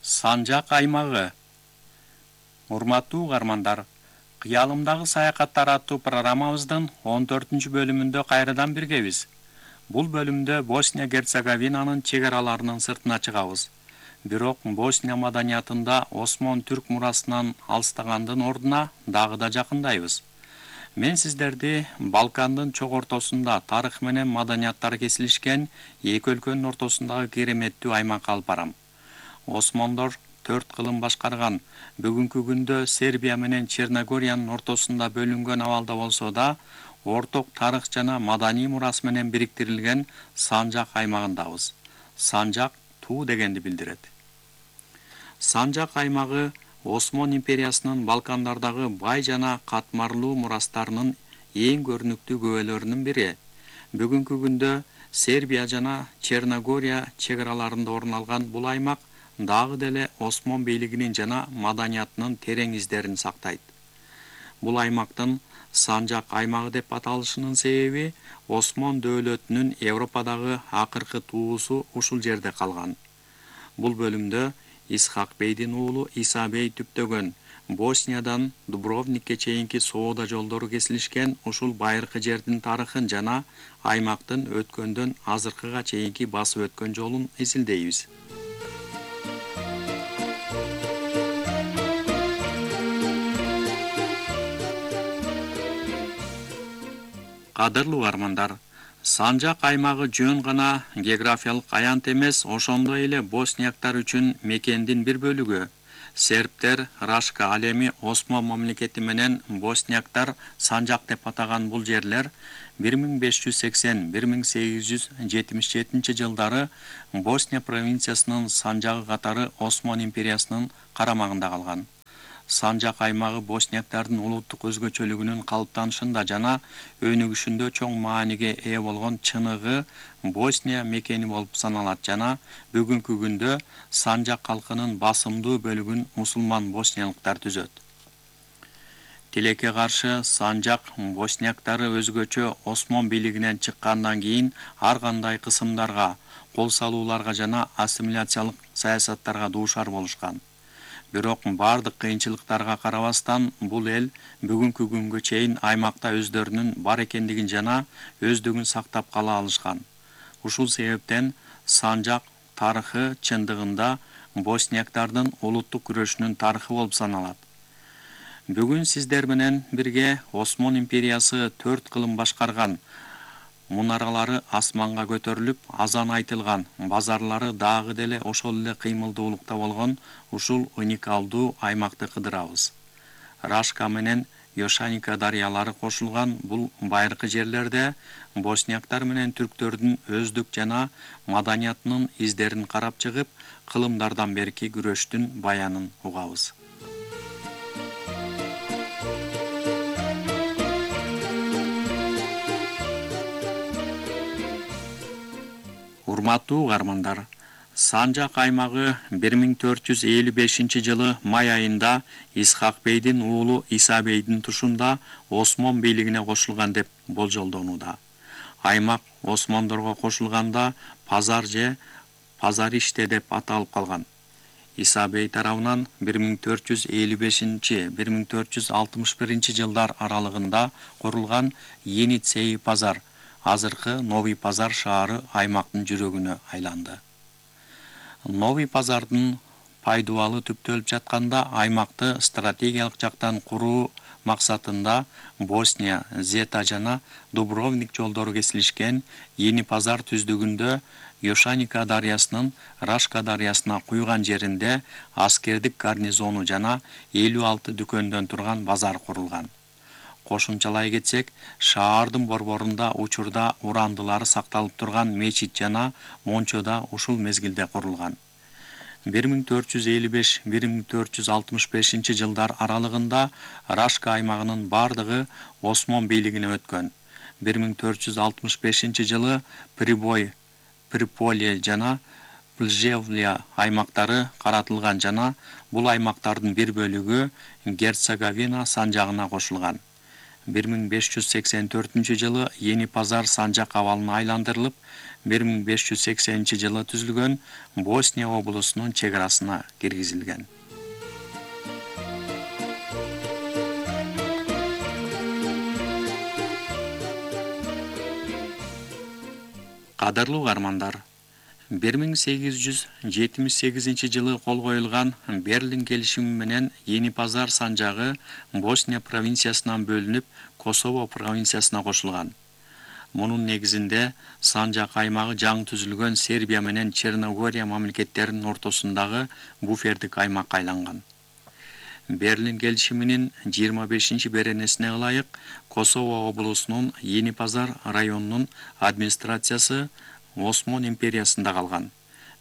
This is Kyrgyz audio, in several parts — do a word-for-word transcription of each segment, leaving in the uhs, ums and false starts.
Санжак аймагы. Урматтуу угармандар, кыялымдагы саякаттар аттуу программабыздын он төртүнчү бөлүмүндө кайрадан биргебиз. Бул бөлүмдө Босния Герцеговинанын чек араларынын сыртына чыгабыз. Бирок Босния маданиятында Осмон түрк мурасынан алыстагандын ордуна дагы да жакындайбыз. Мен сиздерди Балкандын чок ортосунда тарых менен маданияттар кесилишкен эки өлкөнүн ортосундагы кереметтүү аймакка алып барам. Осмондор төрт кылым башкарган, бүгүнкү күндө Сербия менен Черногориянын ортосунда бөлүнгөн абалда болсо да, орток тарых жана маданий мурас менен бириктирилген Санжак аймагындабыз. Санжак туу дегенди билдирет. Санжак аймагы Осмон империясынын Балкандардагы бай жана катмарлуу мурастарынын эң көрүнүктүү күбөлөрүнүн бири. Бүгүнкү күндө Сербия жана Черногория чек араларында орун алган бул аймак дагы деле Осмон бийлигинин жана маданиятынын терең издерин сактайт. Бул аймактын Санжак аймагы деп аталышынын себеби Осмон дөөлөтүнүн Европадагы акыркы туусу ушул жерде калган. Бул бөлүмдө Исхак бейдин уулу Иса бей түптөгөн Босниядан Дубровникке чейинки соода жолдору кесилишкен ушул байыркы жердин тарыхын жана аймактын өткөндөн азыркыга чейинки басып өткөн жолун изилдейбиз. Кадырлуу угармандар, Санжак аймагы жөн гана географиялык аянт эмес, ошондой эле боснияктар үчүн мекендин бир бөлүгү. Сербтер Рашка ал эми Осмон мамлекети менен боснияктар Санжак деп атаган бул жерлер бир миң беш жүз сексен — бир миң сегиз жүз жетимиш жетинчи жылдары Босния провинциясынын Санжагы катары Осмон империясынын карамагында калган. Санжак аймагы боснияктардын улуттук өзгөчөлүгүнүн калыптанышында жана өнүгүшүндө чоң мааниге ээ болгон чыныгы Босния мекени болуп саналат жана бүгүнкү күндө Санжак калкынын басымдуу бөлүгүн мусулман босниялыктар түзөт. Тилекке каршы Санжак боснияктары өзгөчө Осмон бийлигинен чыккандан кийин ар кандай кысымдарга, кол салууларга жана ассимиляциялык саясаттарга дуушар болушкан. Бирок бардык кыйынчылыктарга карабастан бул эл бүгүнкү күнгө чейин аймакта өздөрүнүн бар экендигин жана өздүгүн сактап кала алышкан. Ушул себептен Санжак тарыхы чындыгында боснияктардын улуттук күрөшүнүн тарыхы болуп саналат. Бүгүн сиздер менен бирге Осмон империясы төрт кылым башкарган, мунаралары асманга көтөрүлүп, азан айтылган, базарлары дагы деле ошол эле кыймылдуулукта болгон ушул уникалдуу аймакты кыдырабыз. Рашка менен Йошаника дарыялары кошулган бул байыркы жерлерде боснияктар менен түрктөрдүн өздүк жана маданиятынын издерин карап чыгып, кылымдардан берки күрөштүн баянын угабыз. Урматтуу угармандар, Санжак аймагы бир миң төрт жүз элүү бешинчи жылы май айында Исхак бейдин уулу Иса бейдин тушунда Осмон бийлигине кошулган деп болжолдонууда. Аймак Осмондорго кошулганда Пазар же Пазариште деп аталып калган. Иса бей тарабынан бир миң төрт жүз элүү бешинчи — бир миң төрт жүз алтымыш биринчи жылдар аралыгында курулган Еницей Пазар, азыркы Новый Пазар шаары аймактын жүрөгүнө айланды. Новый Пазардын пайдубалы түптөлүп жатканда аймакты стратегиялык жактан куруу максатында Босния, Зета жана Дубровник жолдору кесилишкен Yeni Пазар түздүгүндө Йошаника дарыясынын Рашка дарыясына куйган жеринде аскердик гарнизону жана элүү алты дүкөндөн турган базар курулган. Кошумчалай кетсек, шаардын борборунда учурда урандылары сакталып турган мечит жана мончо да ушул мезгилде курулган. бир миң төрт жүз элүү беш — бир миң төрт жүз алтымыш бешинчи жылдар аралыгында Рашка аймагынын бардыгы Осмон бийлигине өткөн. бир миң төрт жүз алтымыш бешинчи жылы Прибой, Приполе жана Плжевлия аймактары каратылган жана бул аймактардын бир бөлүгү Герцеговина санжагына кошулган. бир миң беш жүз сексен төртүнчү жылы Yeni Pazar санжак абалына айландырылып, бир миң беш жүз сексенинчи жылы түзүлгөн Босния облусунун чек арасына киргизилген. Кадырлуу угармандар, бир миң сегиз жүз жетимиш сегизинчи жылы кол коюлган Берлин келишими менен Yeni Pazar санжагы Босния провинциясынан бөлүнүп, Косово провинциясына кошулган. Мунун негизинде санжак аймагы жаңы түзүлгөн Сербия менен Черногория мамлекеттеринин ортосундагы буфердик аймакка айланган. Берлин келишиминин жыйырма бешинчи беренесине ылайык Косово облусунун Yeni Pazar районунун администрациясы Осмон империясында калган.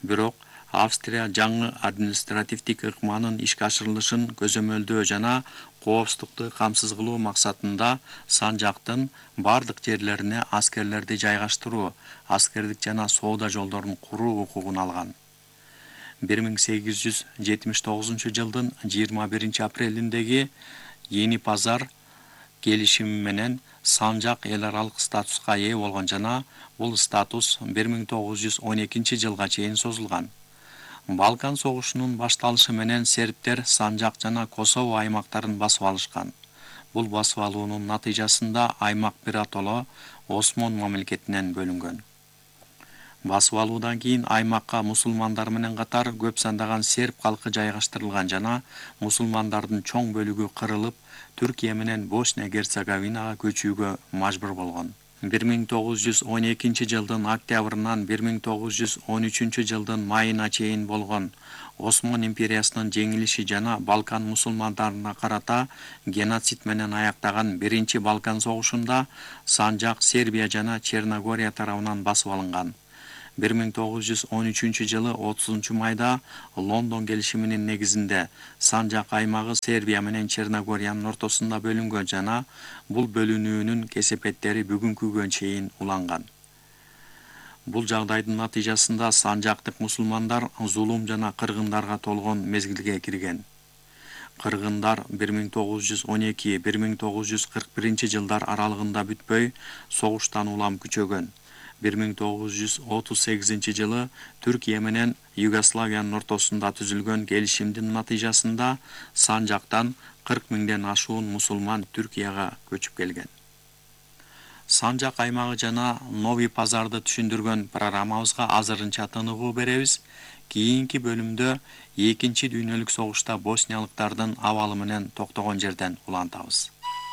Бирок Австрия жаңы административдик ыкманын ишке ашырылышын көзөмөлдөө жана коопсуздукту камсыз кылуу максатында санжактын бардык жерлерине аскерлерди жайгаштыруу, аскердик жана соода жолдорун куруу укугун алган. бир миң сегиз жүз жетимиш тогузунчу жылдын жыйырма биринчи апрелиндеги Yeni Pazar келишими менен санжак эл аралык статуска ээ болгон жана бул статус бир миң тогуз жүз он экинчи жылга чейин созулган. Балкан согушунун башталышы менен сербтер санжак жана Косово аймактарын басып алышкан. Бул басып алуунун натыйжасында аймак биротоло Осмон мамлекетинен бөлүнгөн. Басып алуудан кийин аймакка мусулмандар менен катар көп сандаган серб калкы жайгаштырылган жана мусулмандардын чоң бөлүгү кырылып, Түркия менен Босния Герцеговинага көчүүгө мажбур болгон. бир миң тогуз жүз он экинчи жылдын октябрынан бир миң тогуз жүз он үчүнчү жылдын майына чейин болгон Осмон империясынын жеңилиши жана Балкан мусулмандарына карата геноцид менен аяктаган биринчи Балкан согушунда санжак Сербия жана Черногория тарабынан басып алынган. бир миң тогуз жүз он үчүнчү жылы отузунчу майда Лондон келишиминин негизинде санжак аймагы Сербия менен Черногориянын ортосунда бөлүнгөн жана бул бөлүнүүнүн кесепеттери бүгүнкүгө чейин уланган. Бул жагдайдын натыйжасында санжактык мусулмандар зулум жана кыргындарга толгон мезгилге кирген. Кыргындар бир миң тогуз жүз он эки — бир миң тогуз жүз кырк биринчи жылдар аралыгында бүтпөй, согуштан улам күчөгөн. бир миң тогуз жүз отуз сегизинчи жылы Түркия менен Югославиянын ортосунда түзүлгөн келишимдин натыйжасында санжактан кырк миңден ашуун мусулман Түркияга көчүп келген. Санжак аймагы жана Нови Пазарды түшүндүргөн программабызга азырынча тыныгуу беребиз. Кийинки бөлүмдө экинчи дүйнөлүк согушта босниялыктардын абалы менен токтогон жерден улантабыз.